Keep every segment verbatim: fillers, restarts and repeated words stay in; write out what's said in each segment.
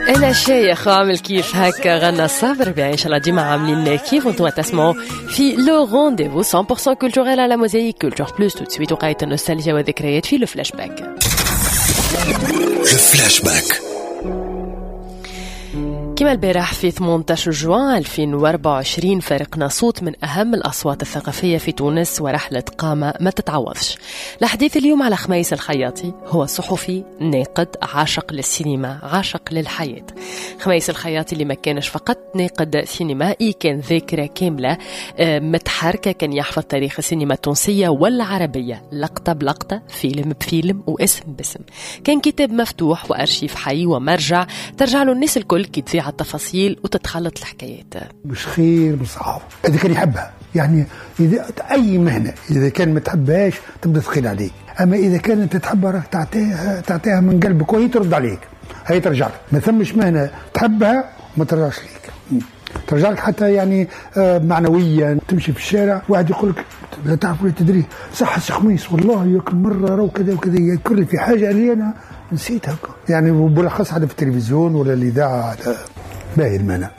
انا شايخ عامل كيف هكا غنى صابر بيع. ان شاء الله ديما عاملين كيف وانتم تسمعوا في le rendez-vous cent pour cent culturel على موزايك Culture Plus. tout de suite وقاية النوستالجيا والذكريات في le flashback. le flashback. كما البارح في ثمانية عشر جوان ألفين وأربعة وعشرين فارقنا صوت من أهم الأصوات الثقافية في تونس ورحلة قامة ما تتعوضش. الحديث اليوم على خميس الخياطي، هو صحفي، ناقد، عاشق للسينما، عاشق للحياة. خميس الخياطي اللي ما كانش فقط ناقد سينمائي، كان ذاكرة كاملة آه، متحركة، كان يحفظ تاريخ السينما التونسية والعربية لقطة بلقطة، فيلم بفيلم، واسم باسم. كان كتاب مفتوح وأرشيف حي ومرجع ترجع له الناس الكل كي تضيع التفاصيل وتتخلط الحكايات. مش خير من الصحافة اذا كان يحبها. يعني اذا اي مهنه، اذا كان ما تحبهاش تبدا ثقيل عليك، اما اذا كانت انت تحبها راك تعطيها تعطيها من قلبك وهي ترد عليك، هي ترجع لك. ما ثمش مهنة تحبها وما ترجعش ليك، ترجع لك حتى يعني آه، معنويا. تمشي في الشارع، واحد يقول لك لا تعرف ولا تدري: صح سي خميس، والله ياك مرة راهو كذا وكذا، يذكر لي في حاجة اللي انا نسيتها. يعني بالاخص هذا في التلفزيون ولا الاذاعه، باهي المهنه.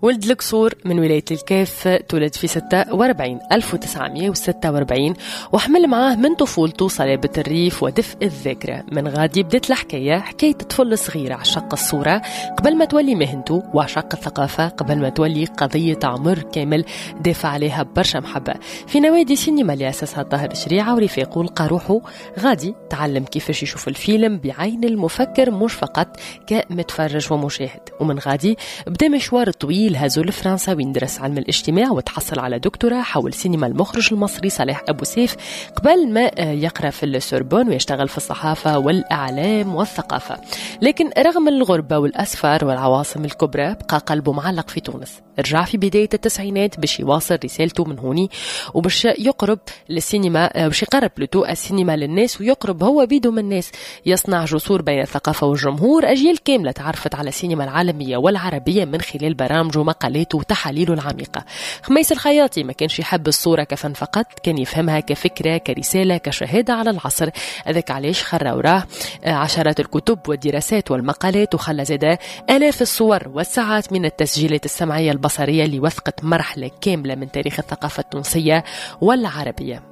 ولد القصور من ولاية الكاف، تولد في ستة وأربعين ألف وتسعمية وستة وأربعين، وحمل معاه من طفولته صلابة الريف ودفء الذاكرة. من غادي بدت الحكاية، حكاية طفل صغير عشق الصورة قبل ما تولي مهنته، وعشق الثقافة قبل ما تولي قضية عمر كامل دافع عليها برشا محبة. في نوادي سينما اللي أسسها الطاهر شريعة ورفاقه لقى روحه غادي، تعلم كيفاش يشوف الفيلم بعين المفكر مش فقط كمتفرج ومشاهد. ومن غادي بدا مشوار طويل هزو لفرنسا، وين درس علم الاجتماع وتحصل على دكتوراه حول سينما المخرج المصري صلاح أبو سيف، قبل ما يقرأ في السوربون ويشتغل في الصحافة والإعلام والثقافة. لكن رغم الغربة والأسفار والعواصم الكبرى، بقى قلبه معلق في تونس. رجع في بداية التسعينات باش يواصل رسالته من هوني وباش يقرب للسينما، باش يقرب plutôt السينما للناس ويقرب هو بيدو من الناس، يصنع جسور بين الثقافة والجمهور. أجيال كاملة تعرفت على السينما العالمية والعربية من خلال برامجه ومقالاته وتحاليله العميقة. خميس الخياطي ما كانش يحب الصورة كفن فقط، كان يفهمها كفكرة، كرسالة، كشهادة على العصر. هذاك علاش خلى وراه عشرات الكتب والدراسات والمقالات، وخلى زادة آلاف الصور والساعات من التسجيلات السمعية البصرية اللي وثقت مرحلة كاملة من تاريخ الثقافة التونسية والعربية.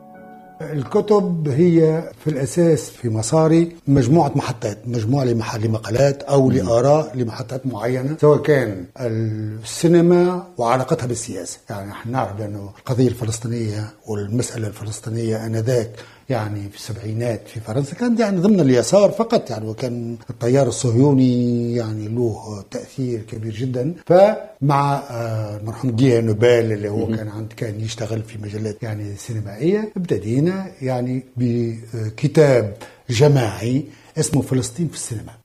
الكتب هي في الأساس في مساري مجموعة محطات، مجموعة لمقالات أو لآراء لمحطات معينة، سواء كان السينما وعلاقتها بالسياسة. يعني نحن نعرف بأنه القضية الفلسطينية والمسألة الفلسطينية آنذاك، يعني في السبعينات في فرنسا، كان يعني ضمن اليسار فقط، يعني وكان التيار الصهيوني يعني له تأثير كبير جدا. فمع المرحوم جي نوبل اللي هو كان عند كان يشتغل في مجلات يعني سينمائية، ابتدينا يعني بكتاب جماعي اسمه فلسطين في السينما.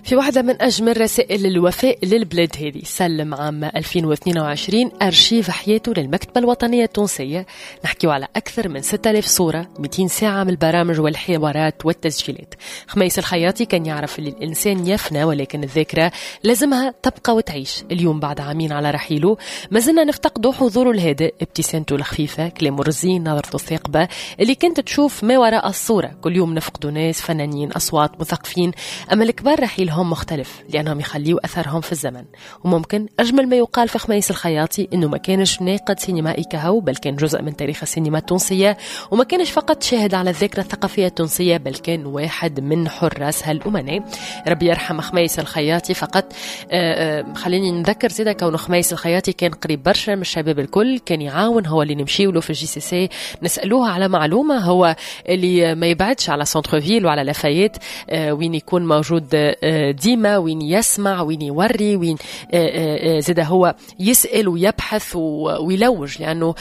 في واحدة من أجمل رسائل الوفاء للبلاد هذه، سلم عام ألفين واثنين وعشرين أرشيف حياته للمكتبة الوطنية التونسية. نحكيو على أكثر من ستة آلاف صورة، مئتين ساعة من البرامج والحوارات والتسجيلات. خميس الخياطي كان يعرف اللي الإنسان يفنى ولكن الذاكرة لازمها تبقى وتعيش. اليوم بعد عامين على رحيله ما زلنا نفتقد حضوره الهادئ، ابتسامته الخفيفة، كلامه الرزين، نظرته الثاقبة اللي كنت تشوف ما وراء الصورة. كل يوم نفقدوا ناس، فنانين، أصوات، مثقفين، أما الكبار رحيلهم مختلف لأنهم يخليوا أثرهم في الزمن. وممكن أجمل ما يقال في خميس الخياطي أنه ما كانش ناقد سينمائي كهو، بل كان جزء من تاريخ السينما التونسية، وما كانش فقط شاهد على الذاكرة الثقافية التونسية، بل كان واحد من حراسها الأمناء. ربي يرحم خميس الخياطي. فقط آه، آه، خليني نذكر زيدا كونه خميس الخياطي كان قريب برشا من الشباب الكل، كان يعاون، هو اللي نمشيو له في ال JCC نسألوه على معلومة، هو اللي ما يبعدش على centre-ville وعلى لافايت آه، وين يكون موجود ديما، وين يسمع، وين يوري، وين زاد هو يسأل ويبحث ويلوج، لأنه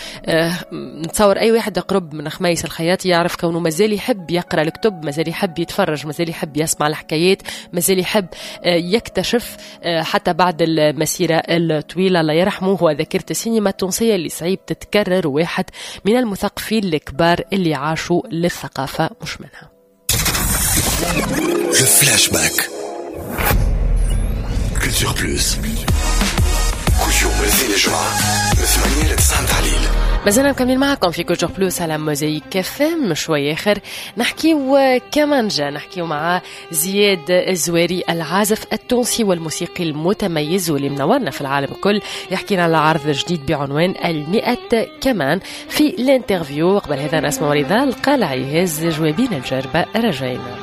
نتصور أي واحد قرب من خميس الخياطي يعرف كونه مازال يحب يقرأ الكتب، مازال يحب يتفرج، مازال يحب يسمع الحكايات، مازال يحب يكتشف حتى بعد المسيرة الطويلة. الله يرحمه، هو ذاكرة السينما التونسية اللي صعيب تتكرر، واحد من المثقفين الكبار اللي عاشوا للثقافة مش منها. Le flashback. Culture Plus. Culture. من الاثنين للجمعة من ثمانية ل تسعة متاع الليل. مازلنا مكملين معكم في Culture Plus على موزايك اف ام. شوي اخر نحكيو كمانجا، نحكيو مع زياد الزواري، العازف التونسي والموسيقي المتميز واللي منورنا في العالم الكل، يحكينا على عرض جديد بعنوان المئة كمان في l'interview. قبل هذا نسمع رضا القلعي هز جوابين الجربة رجعنا.